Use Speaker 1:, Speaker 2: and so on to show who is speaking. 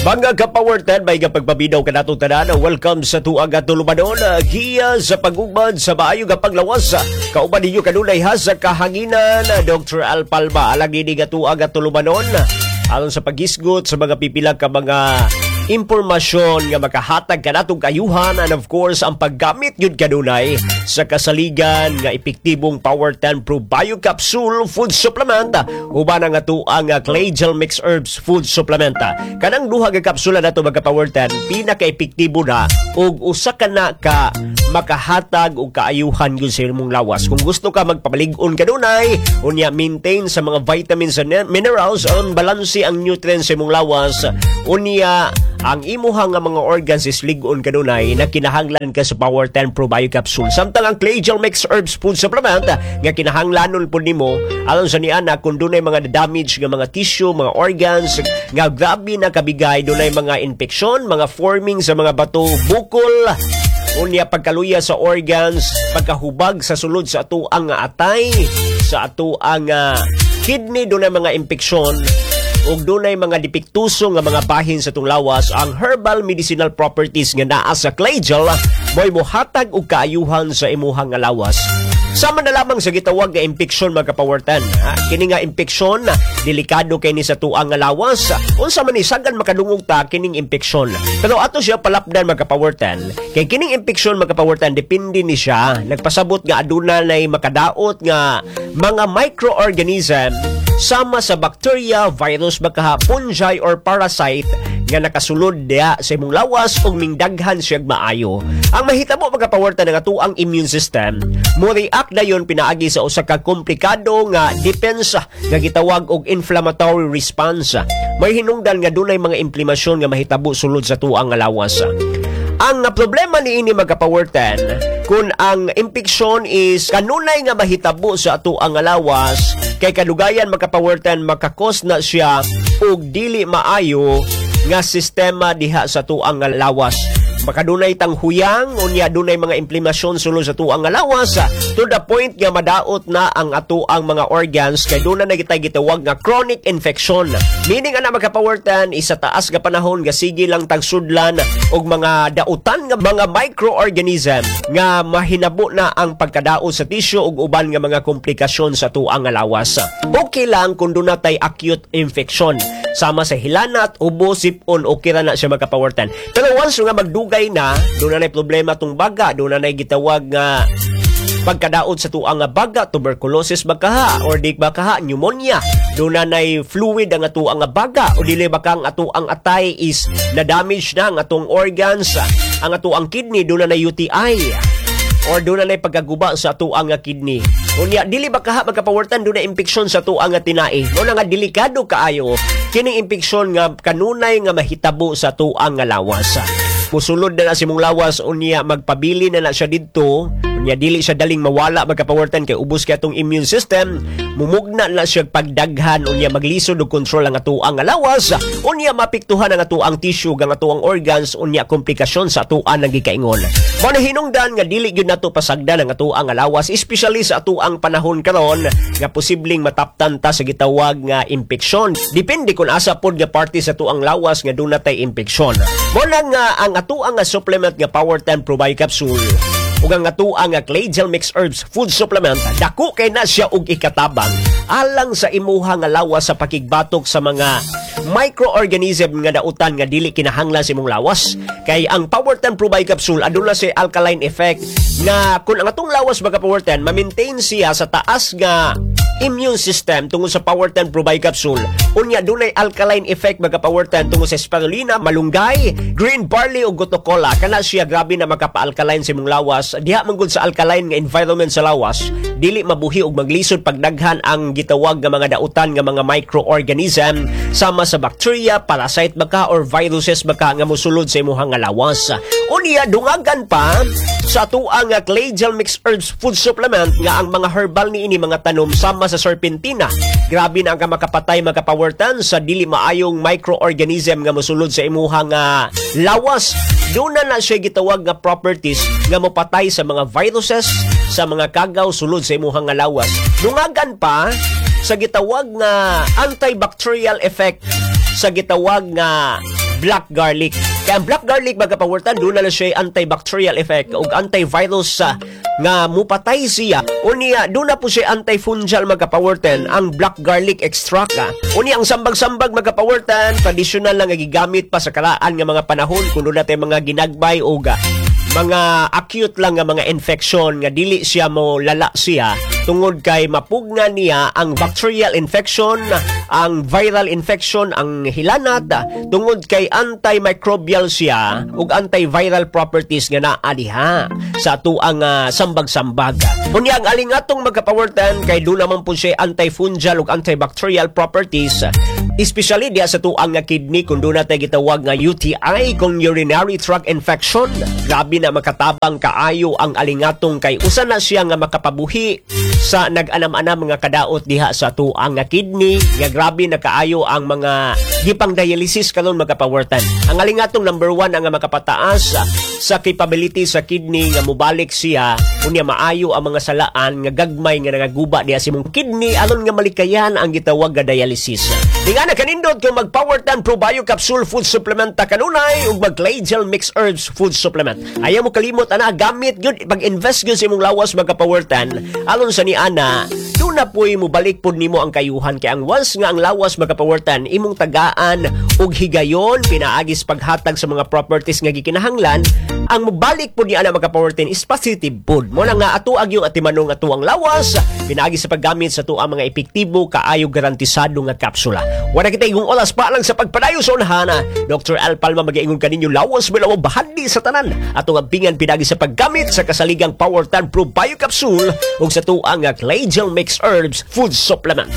Speaker 1: Mga ka-Power 10, may pagpaminaw kanatong tanan. Welcome sa tuang at tulumanon. Giya sa pagugmad sa maayo nga paglawas. Kauban ninyo kanunay ha sa kahanginan, Dr. Al Palma. Alang nini nga tuang at tulumanon, aron sa paghisgot sa mga pipila ka mga impormasyon nga makahatag kanatong kaayuhan and of course ang paggamit yun kanunay sa kasaligan nga epektibong Power 10 Pro Bio Capsule Food Supplement uban ang atoang Clay Gel Mix Herbs Food Supplement. Kanang duha ka kapsula nato, mga Power 10, pinaka-epektibo na ug usa ka na ka makahatag og kaayuhan yun sa imong lawas. Kung gusto ka magpamalig-on kanunay, unya maintain sa mga vitamins and minerals, on balanse ang nutrients sa imong lawas, unya ang imuha nga mga organs is lig-on kanunay na kinahanglan ka sa Power 10 Pro Bio Capsule. Samtang ang Clay Gel Mix Herbs Food Supplement nga kinahanglanon po nimo aron sa niana kung dunay mga damage nga mga tissue, mga organs nga grabe na kabigay, dunay mga infeksyon, mga forming sa mga bato, bukol, unya pagkaluya sa organs, pagkahubag sa sulod sa atoang atay, sa atoang kidney, dunay mga impeksyon ug dunay mga depektuso nga mga bahin sa atong lawas. Ang herbal medicinal properties nga naa sa clay gel mo'y mohatag og kaayuhan sa imuhang nga lawas. Sama na lamang sa gitawag nga impeksyon, mga ka-Power 10. Ha? Kini nga impeksyon, delikado kay ni sa tuang nga lawas. Unsa man ni, sagan makadungog ta kining impeksyon. Pero ato siya palapdan, mga ka-Power 10. Kay kining impeksyon, mga ka-Power 10, depende ni siya. Nagpasabot nga aduna nay makadaot nga mga microorganism sama sa bacteria, virus, baka fungi or parasite nga nakasulod diha sa imong lawas ug mingdaghan siya maayo. Ang mahitabo, mga ka-Power 10, ang atoang immune system mo react dayon pinaagi sa usa ka komplikado nga depensa nga gitawag og inflammatory response. May hinungdan nga dunay mga inflamasyon nga mahitabo sulod sa tuang nga lawas. Ang problema niini, mga ka-Power 10, kung ang impeksyon is kanunay nga mahitabo sa atoang nga lawas, kay kadugayan, mga ka-Power 10, maka-cause na siya og dili maayo nga sistema diha sa tuang nga lawas. Makadunay tang huyang, unya dunay mga inflamasyon sulod sa tuang nga lawas to the point nga madaot na ang atoang mga organs kay doon na gitay gitawag nga chronic infection. Meaning ana, mga ka-Power 10, isa taas nga panahon nga sige lang tagsudlan og mga dautan nga mga microorganism nga mahinabo na ang pagkadaot sa tissue ug uban nga mga komplikasyon sa tuang nga lawas. Okay lang kung doon na tay acute infection sama sa hilanat, ubo, sipon, okay ra na siya, mga ka-Power 10. Pero once nga magdugay na, doon na problema tong baga, doon na gitawag nga pagkadaot sa tuang nga baga, tuberculosis bakaha, or di bakaha, pneumonia. Doon na nay fluid ang atuang nga baga, o dili baka ang atuang atay is na-damage na ang atong organs, ang atuang kidney, doon na nay UTI or doon na nay pagkaguba sa atuang nga kidney. Unya, dili ba kaha, mga ka-Power 10, doon na impeksyon sa tuang nga tinai. Mo na nga delikado kaayo kining impeksyon nga kanunay nga mahitabo sa tuang nga lawas. Musulod na na si mong lawas, unya magpabili na na siya didto, unya dili siya daling mawala, mga ka-Power 10, kay ubos kay atong immune system. Mumugna na siya pagdaghan, unya maglisod og kontrol ang atoang nga lawas, unya mapiktuhan ang atoang tissue ang atoang organs, unya komplikasyon sa atoang nang gikaingon. Mao na hinungdan nga dili gyud nato pasagdan ang atoang nga lawas, especially sa atoang panahon karon nga posibleng mataptan ta sa gitawag nga impeksyon, depende kung asa pod nga parte sa atoang lawas nga duna tay impeksyon. Mao na nga ang atoang nga supplement nga Power 10 Pro Bio Capsule ug ang atoang nga Clay Gel Mix Herbs Food Supplement, dako kay na siya og ikatabang alang sa imuha nga lawas sa pakigbatok sa mga microorganism nga dautan nga dili kinahanglan sa imong lawas. Kay ang Power 10 Pro Bio Capsule aduna siya alkaline effect nga kung ang atong lawas, mga Power 10, ma-maintain siya sa taas nga immune system tungod sa Power 10 Pro Bio Capsule. Unya dunay alkaline effect, mga Power 10, tungod sa spirulina, malunggay, green barley ug gotu kola. Kana siya grabe na makapa-alkaline sa imong lawas. Diha man gud sa alkaline nga environment sa lawas, dili mabuhi og maglisod pagdaghan ang gitawag nga mga dautan nga mga microorganism sama sa bacteria, parasite baka or viruses baka nga mosulod sa imong nga lawas. Unya dungagan pa sa atuang nga Clay Gel Mix Herbs Food Supplement nga ang mga herbal niini mga tanom sama sa serpentina. Grabe na ang makapatay, mga ka-Power 10, sa dili maayong microorganism nga mosulod sa imuha nga lawas. Doon na na siya gitawag nga properties nga mopatay sa mga viruses, sa mga kagaw sulod sa imuha nga lawas. Dungagan pa sa gitawag nga antibacterial effect sa gitawag nga Black garlic. Kaya ang black garlic, mga kapower 10, duna na siya antibacterial effect ug antivirus sa nga mupatay siya. Unya duna po siya antifungal, mga kapower 10, ang black garlic extract. Unya ang sambag-sambag, mga kapower 10, traditional lang nga gigamit pa sa karaan nga mga panahon kung duna tay mga ginagbay o mga acute lang nga mga infection nga dili siya mo lala siya tungod kay mapugna niya ang bacterial infection, ang viral infection, ang hilanat, tungod kay antimicrobial siya ug antiviral properties nga naa diha sa atuang sambag-sambag. Unya ang alingatong, mga kapower 10, kay duna man po siya antifungal ug antibacterial properties, especially diya sa tuang nga kidney kung duna tay gitawag nga UTI, kung urinary tract infection. Grabe na makatabang kaayo ang alingatong kay usa na siya nga makapabuhi sa nag-anam-anam mga kadaot diha sa tuang nga kidney nga grabe na kaayo ang mga gipang dialysis karon, mga kapower 10. Ang alingatong number one ang nga makapataas sa capability sa kidney nga mubalik siya, unya maayo ang mga salaan nga gagmay nga nagaguba diha sa imong kidney aron nga malikayan ang gitawag nga dialysis. Di nga nakanindot kung mag Power 10 Pro Bio Capsule Food Supplement ta kanunay ug mag Gel Mix Herbs Food Supplement. Ayaw mo kalimot ana, gamit gyud, pag-invest gyud sa imong lawas, mga Power 10, aron sa ni ana duna po'y mubalik pod nimo ang kayuhan, kay ang once nga ang lawas, mga Power 10, imong tagaan og higayon pinaagis paghatag sa mga properties nga gikinahanglan, ang mubalik pod ni ana, mga Power 10, is positive pod mo na nga ato ag yung atimanong ato ang lawas pinaagi sa paggamit sa tuang mga epektibo kaayo garantisado nga kapsula. Wala kita igong oras pa lang sa pagpadayo sa unahana. Dr. Al Palma magiingon kaninyo, lawas mo bahandi sa tanan. Atong ampingan pinagi sa paggamit sa kasaligang Power 10 Pro Bio Capsule ug sa tuang nga Clay Gel Mix Herbs Food Supplement.